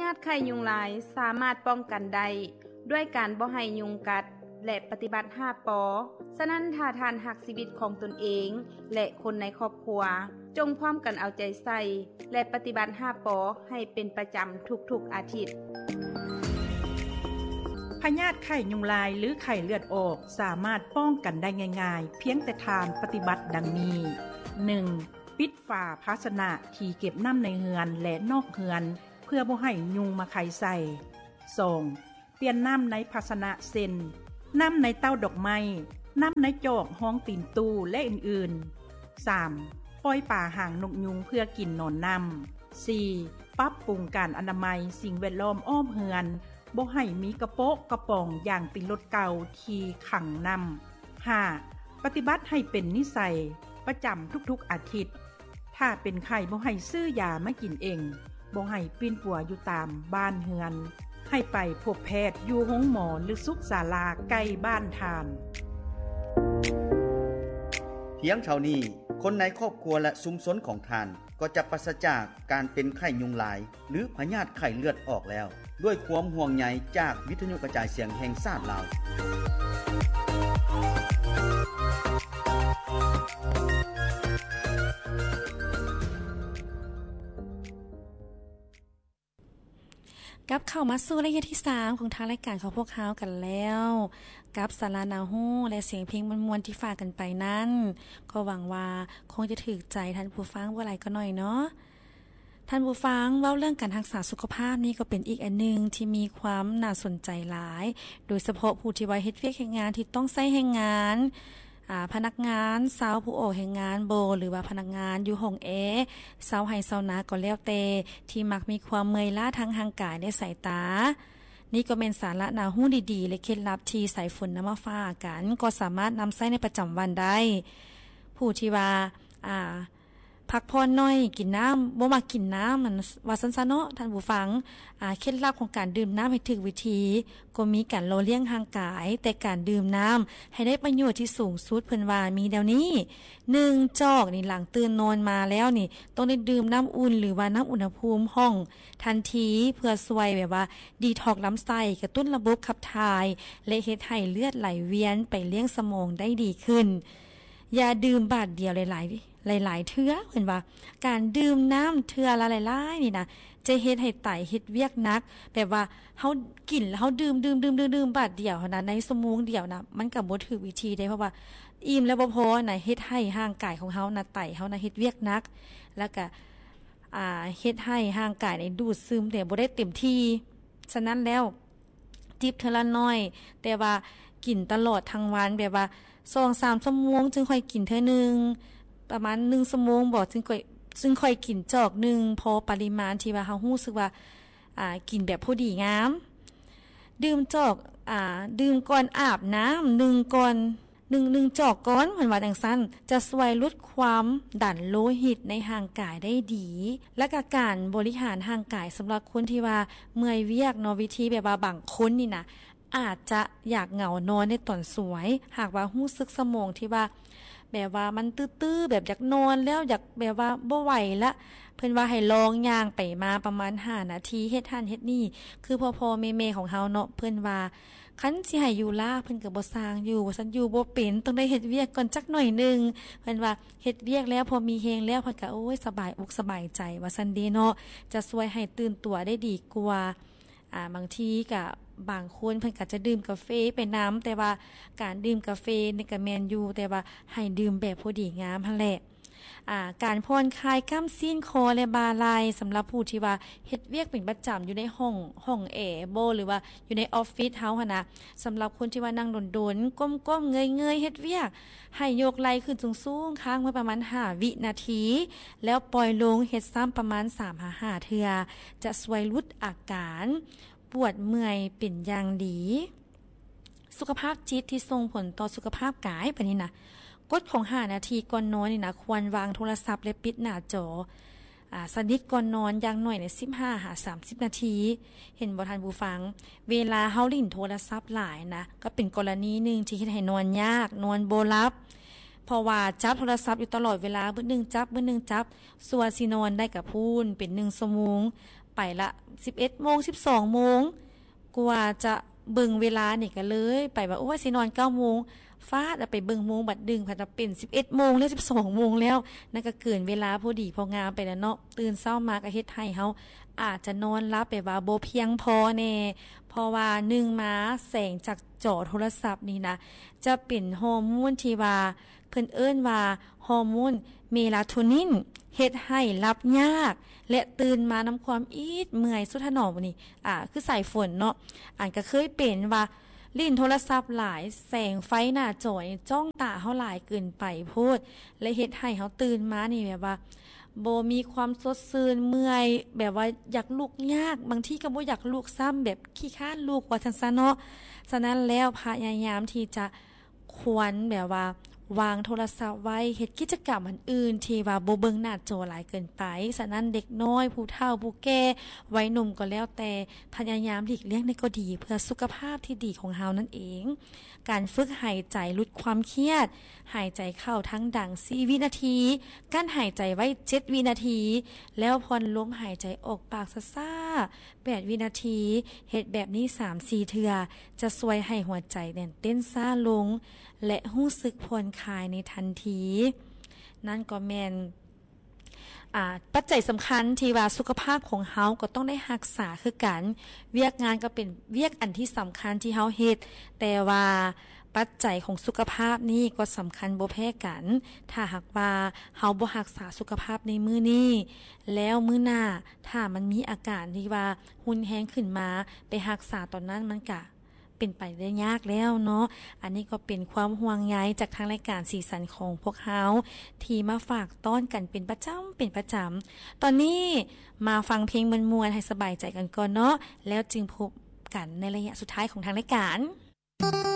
ຍາດໄຂ້ຍຸງລາຍສາມາດປ້ອງກັນໄດ້ດ້ວຍການບໍ່ໃຫ້ຍຸງກັດ ແລະ ປະຕິບັດຫ້າ ປ. ສະນັ້ນ, ຖ້າທ່ານຮັກຊີວິດຂອງຕົນເອງ ແລະ ຄົນໃນຄອບຄົວ, ຈົ່ງພ້ອມກັນເອົາໃຈໃສ່ ແລະ ປະຕິບັດຫ້າ ປ ໃຫ້ເປັນປະຈຳທຸກໆອາທິດ. ພະຍາດໄຂ້ຍຸງລາຍ ຫຼື ໄຂ້ເລືອດອອກ ສາມາດປ້ອງກັນໄດ້ງ່າຍໆ ພຽງແຕ່ທ່ານປະຕິບັດດັ່ງນີ້: ໜຶ່ງ ປິດຝາພາຊະນະທີ່ເກັບນ້ຳໃນເຮືອນ ແລະ ນອກເຮືອນ ເພື່ອບໍ່ໃຫ້ຍຸງມາໄຂ່ໃສ່. ສອງ ປ່ຽນນ້ຳໃນພາຊະນະ ເຊັ່ນ ນ້ຳໃນເຕົ້າດອກໄມ້, ນ້ຳໃນຈອກຮອງຕີນຕູ້ ແລະ ອື່ນໆ. ສາມ ປ່ອຍປາຫາງນົກຍຸງເພື່ອກິນນອນນ້ຳ. ສີ່ ປັບປຸງການອະນາໄມສິ່ງແວດລ້ອມອ້ອມເຮືອນ, ບໍ່ໃຫ້ມີກະໂປະກະປ໋ອງຢາງຕີນລົດເກົ່າທີ່ຂັງນ້ຳ. ຫ້າ ປະຕິບັດໃຫ້ເປັນນິໄສປະຈຳທຸກໆອາທິດ. ຖ້າເປັນໄຂ້ ບໍ່ໃຫ້ຊື້ຢາມາກິນເອງ, ບໍ່ໃຫ້ປິ່ນປົວຢູ່ຕາມບ້ານເຮືອນ, ໃຫ້ໄປພົບແພດຢູ່ໂຮງໝໍ ຫຼື ສຸກສາລາໃກ້ບ້ານທ່ານ. ພຽງເທົ່ານີ້, ຄົນໃນຄອບຄົວ ແລະ ຊຸມຊົນຂອງທ່ານ ກໍຈະປາສະຈາກການເປັນໄຂ້ຍຸງລາຍ ຫຼື ພະຍາດໄຂ້ເລືອດອອກແລ້ວ, ດ້ວຍຄວາມຫ່ວງໃຍຈາກວິທະຍຸກະຈາຍສຽງແຫ່ງຊາດລາວ. ກັບເຂົ້າມາສູ່ໄລຍະທີສາມຂອງທາງລາຍການຂອງພວກເຮົາກັນແລ້ວ, ກັບສາລະໜ້າຮູ້ ແລະ ສຽງເພງມ່ວນໆທີ່ຝາກກັນໄປນັ້ນ, ກໍຫວັງວ່າຄົງຈະຖືກໃຈທ່ານຜູ້ຟັງບໍ່ຫຼາຍກໍໜ້ອຍເນາະ. ທ່ານຜູ້ຟັງ, ເວົ້າເລື່ອງການຮັກສາສຸຂະພາບນີ້ກໍເປັນອີກອັນໜຶ່ງທີ່ມີຄວາມໜ້າສົນໃຈຫຼາຍ, ໂດຍສະເພາະຜູ້ທີ່ວ່າເຮັດວຽກເຮັດງານທີ່ຕ້ອງໃຊ້ແຮງງານ, ອາ, ພະນັກງານຊາວຜູ້ອອກແຮງງານບໍ ຫຼືວ່າພະນັກງານຢູ່ຫ້ອງແອ, ຊາວໄຮ່ຊາວນາກໍແລ້ວແຕ່, ທີ່ມັກມີຄວາມເມື່ອຍລ້າທາງຮ່າງກາຍ ແລະ ສາຍຕາ. ນີ້ກໍແມ່ນສາລະໜ້າຮູ້ດີໆ ແລະ ເຄັດລັບທີ່ສາຍຝົນນຳມາຝາກກັນ, ກໍສາມາດນຳໃຊ້ໃນປະຈຳວັນໄດ້. ຜູ້ທີ່ວ່າ, ອາ, ພັກຜ່ອນໜ້ອຍ, ກິນນ້ຳ, ບໍ່ມັກກິນນ້ຳ, ວ່າຊັ້ນຊະເນາະ, ທ່ານຜູ້ຟັງ. ອາ, ເຄັດລັບຂອງການດື່ມນ້ຳໃຫ້ຖືກວິທີ ກໍມີການຫຼໍ່ລ້ຽງຮ່າງກາຍ, ແຕ່ການດື່ມນ້ຳໃຫ້ໄດ້ປະໂຫຍດທີ່ສູງສຸດ ເພິ່ນວ່າມີແນວນີ້: ໜຶ່ງ ຈອກນີ້, ຫຼັງຕື່ນນອນມາແລ້ວນີ້ ຕ້ອງໄດ້ດື່ມນ້ຳອຸ່ນ ຫຼືວ່ານ້ຳອຸນຫະພູມຫ້ອງທັນທີ ເພື່ອຊ່ວຍແບບວ່າດີທັອກລຳໄສ້, ກະຕຸ້ນລະບົບຂັບຖ່າຍ ແລະ ເຮັດໃຫ້ເລືອດໄຫຼວຽນໄປລ້ຽງສະໝອງໄດ້ດີຂຶ້ນ. ຢ່າດື່ມບາດດຽວຫຼາຍໆ ຫຼາຍໆເທື່ອ, ເພິ່ນວ່າການດື່ມນ້ຳເທື່ອລະຫຼາຍໆນີ້ນະ ຈະເຮັດໃຫ້ໄຕເຮັດວຽກໜັກ, ແບບວ່າເຮົາກິນແລ້ວເຮົາດື່ມໆໆໆບາດດຽວຫັ້ນນະ, ໃນຊົ່ວໂມງດຽວນະ ມັນກະບໍ່ຖືກວິທີເດ້, ເພາະວ່າອີ່ມແລ້ວບໍ່ພໍນະ, ເຮັດໃຫ້ຮ່າງກາຍຂອງເຮົານະ, ໄຕເຮົານະເຮັດວຽກໜັກ, ແລ້ວກະ ອາ ເຮັດໃຫ້ຮ່າງກາຍນີ້ດູດຊຶມແຕ່ບໍ່ໄດ້ເຕັມທີ່. ສະນັ້ນແລ້ວ ຈິບເທື່ອລະໜ້ອຍ, ແຕ່ວ່າກິນຕະຫຼອດທັງວັນ, ແບບວ່າສອງສາມຊົ່ວໂມງຈຶ່ງຄ່ອຍກິນເທື່ອໜຶ່ງ, ປະມານໜຶ່ງຊົ່ວໂມງບໍ ຈຶ່ງຄ່ອຍ ຈຶ່ງຄ່ອຍກິນຈອກໜຶ່ງ ພໍປະລິມານທີ່ວ່າເຮົາຮູ້ສຶກວ່າ ອາ ກິນແບບພໍດີງາມ. ດື່ມຈອກ ອາ ດື່ມກ່ອນອາບນ້ຳໜຶ່ງກ່ອນ ໜຶ່ງ ໜຶ່ງຈອກກ່ອນ ເພິ່ນວ່າຈັ່ງຊັ້ນ, ຈະຊ່ວຍຫຼຸດຄວາມດັນໂລຫິດໃນຮ່າງກາຍໄດ້ດີ. ແລະກະການບໍລິຫານຮ່າງກາຍ ສຳລັບຄົນທີ່ວ່າເມື່ອຍວຽກເນາະ, ວິທີແບບວ່າບາງຄົນນີ້ນະ ອາດຈະຢາກເຫງົານອນໃນຕອນສວຍ, ຫາກວ່າຮູ້ສຶກສະໝອງທີ່ວ່າ ແບບວ່າມັນຕື້ໆ ແບບຢາກນອນແລ້ວ, ຢາກແບບວ່າບໍ່ໄຫວລະ, ເພິ່ນວ່າໃຫ້ລອງຍ່າງໄປມາປະມານຫ້ານາທີ, ເຮັດຫັ້ນເຮັດນີ້, ຄືພໍ່ໆແມ່ໆຂອງເຮົາເນາະ, ເພິ່ນວ່າ ຄັນຊິໃຫ້ຢູ່ລາກ ເພິ່ນກະບໍ່ຊ່າງຢູ່ ວ່າຊັ້ນ, ຢູ່ບໍ່ເປັນ, ຕ້ອງໄດ້ເຮັດວຽກກ່ອນຈັກໜ້ອຍໜຶ່ງ. ເພິ່ນວ່າເຮັດວຽກແລ້ວ ພໍມີແຮງແລ້ວ ເພິ່ນກະ ໂອ້ຍ ສະບາຍອົກສະບາຍໃຈ ວ່າຊັ້ນເດເນາະ, ຈະຊ່ວຍໃຫ້ຕື່ນຕົວໄດ້ດີກວ່າ. ອາ ບາງທີກະ ບາງຄົນເພິ່ນກະຈະດື່ມກາເຟໄປນຳ, ແຕ່ວ່າການດື່ມກາເຟນີ້ກະແມ່ນຢູ່, ແຕ່ວ່າໃຫ້ດື່ມແບບພໍດີງາມຫັ້ນແຫຼະ. ອາ ການຜ່ອນຄາຍກ້າມຊີ້ນຄໍ ແລະ ບ່າໄຫຼ່ ສຳລັບຜູ້ທີ່ວ່າເຮັດວຽກເປັນປະຈຳຢູ່ໃນຫ້ອງ ຫ້ອງແອບໍ ຫຼືວ່າຢູ່ໃນອອບຟິດເຮົາຫັ້ນນະ, ສຳລັບຄົນທີ່ວ່ານັ່ງດົນໆ ກົ້ມໆເງີຍໆເຮັດວຽກ, ໃຫ້ຍົກໄຫຼ່ຂຶ້ນສູງໆ ຄ້າງໄວ້ປະມານຫ້າວິນາທີ ແລ້ວປ່ອຍລົງ, ເຮັດຊ້ຳປະມານສາມຫາຫ້າເທື່ອ ຈະຊ່ວຍຫຼຸດອາການປວດເມື່ອຍເປັນຢ່າງດີ. ສຸຂະພາບຈິດທີ່ສົ່ງຜົນຕໍ່ສຸຂະພາບກາຍ ບາດນີ້ນະ, ກົດຂອງຫ້ານາທີກ່ອນນອນນີ້ນະ, ຄວນວາງໂທລະສັບ ແລະ ປິດໜ້າຈໍ ອາ ສະໜິດກ່ອນນອນ ຢ່າງໜ້ອຍໃນສິບຫ້າຫາສາມສິບນາທີ. ເຫັນບໍ່ທ່ານຜູ້ຟັງ? ເວລາເຮົາຫຼິ້ນໂທລະສັບຫຼາຍນະ, ກໍເປັນກໍລະນີໜຶ່ງທີ່ເຮັດໃຫ້ນອນຍາກ, ນອນບໍ່ຫຼັບ. ເພາະວ່າຈັບໂທລະສັບຢູ່ຕະຫຼອດເວລາ, ມື້ໜຶ່ງຈັບ, ມື້ໜຶ່ງຈັບ, ສ່ວນຊິນອນໄດ້ກະພຸ້ນເປັນໜຶ່ງຊົ່ວໂມງ, ໄປລະສິບເອັດໂມງ, ສິບສອງໂມງ, ກວ່າຈະເບິ່ງເວລານີ້ກະເລີຍໄປວ່າ ໂອ້ຍ ຊິນອນເກົ້າໂມງ, ຟາດ ໄປເບິ່ງໂມງບັດດຶງ ພັດວ່າເປັນສິບເອັດໂມງແລ້ວ, ສິບສອງໂມງແລ້ວ, ນັ້ນກະເກີນເວລາພໍດີພໍງາມໄປແລ້ວເນາະ. ຕື່ນເຊົ້າມາກະເຮັດໃຫ້ເຮົາອາດຈະນອນຫຼັບແບບວ່າບໍ່ພຽງພໍແດ່, ເພາະວ່າໜຶ່ງມາແສງຈາກຈໍໂທລະສັບນີ້ນະ ຈະເປັນຮໍໂມນທີ່ວ່າ ເພິ່ນເອີ້ນວ່າຮໍໂມນເມລາໂທນິນ, ເຮັດໃຫ້ຫຼັບຍາກ ແລະ ຕື່ນມານຳຄວາມອິດເມື່ອຍສຸດຖະໜອມນີ້ ອາ ຄືສາຍຝົນເນາະ. ອັນກະເຄີຍເປັນວ່າຫຼິ້ນໂທລະສັບຫຼາຍ, ແສງໄຟໜ້າຈໍນີ້ຈ້ອງຕາເຮົາຫຼາຍເກີນໄປໂພດ ແລະ ເຮັດໃຫ້ເຮົາຕື່ນມານີ້ແບບວ່າບໍ່ມີຄວາມສົດຊື່ນ, ເມື່ອຍ, ແບບວ່າຢາກລຸກຍາກ, ບາງທີກະບໍ່ຢາກລຸກຊ້ຳ, ແບບຂີ້ຄ້ານລຸກວ່າຊັ້ນຊະເນາະ. ສະນັ້ນແລ້ວ ພະຍາຍາມທີ່ຈະ ຄວນແບບວ່າວາງໂທລະສັບໄວ້, ເຮັດກິດຈະກຳອັນອື່ນທີ່ວ່າບໍ່ເບິ່ງໜ້າຈໍຫຼາຍເກີນໄປ. ສະນັ້ນເດັກນ້ອຍ, ຜູ້ເຖົ້າ, ຜູ້ແກ່, ໄວໜຸ່ມກໍແລ້ວແຕ່, ພະຍາຍາມຫຼີກລ່ຽງໄດ້ກໍດີ ເພື່ອສຸຂະພາບທີ່ດີຂອງເຮົານັ້ນເອງ. ການຝຶກຫາຍໃຈຫຼຸດຄວາມຄຽດ, ຫາຍໃຈເຂົ້າທາງດັງສີ່ວິນາທີ, ກັ້ນຫາຍໃຈໄວ້ເຈັດວິນາທີ, ແລ້ວຜ່ອນລົມຫາຍໃຈອອກປາກຊ້າໆ ແປດວິນາທີ, ເຮັດແບບນີ້ສາມສີ່ເທື່ອ ຈະຊ່ວຍໃຫ້ຫົວໃຈແໜ້ນເຕັ້ນຊ້າລົງ ແລະ ຮູ້ສຶກຜ່ອນຄາຍໃນທັນທີ. ນັ້ນກໍແມ່ນ ອາ ປັດໄຈສຳຄັນທີ່ວ່າສຸຂະພາບຂອງເຮົາກໍຕ້ອງໄດ້ຮັກສາຄືກັນ. ວຽກງານກໍເປັນວຽກອັນທີ່ສຳຄັນທີ່ເຮົາເຮັດ, ແຕ່ວ່າປັດໄຈຂອງສຸຂະພາບນີ້ກໍສຳຄັນບໍ່ແພ້ກັນ. ຖ້າຫາກວ່າເຮົາບໍ່ຮັກສາສຸຂະພາບໃນມື້ນີ້ ແລ້ວມື້ໜ້າ ຖ້າມັນມີອາການທີ່ວ່າຮຸນແຮງຂຶ້ນມາ, ໄປຮັກສາຕອນນັ້ນມັນກະເປັນໄປໄດ້ຍາກແລ້ວເນາະ. ອັນນີ້ກໍເປັນຄວາມຫ່ວງໃຍຈາກທາງລາຍການສີສັນຂອງພວກເຮົາ ທີ່ມາຝາກຕ້ອນກັນເປັນປະຈຳ, ເປັນປະຈຳ. ຕອນນີ້ມາຟັງເພງມ່ວນໆ ໃຫ້ສະບາຍໃຈກັນກ່ອນເນາະ, ແລ້ວຈຶ່ງພົບກັນໃນໄລຍະສຸດທ້າຍຂອງທາງລາຍການ.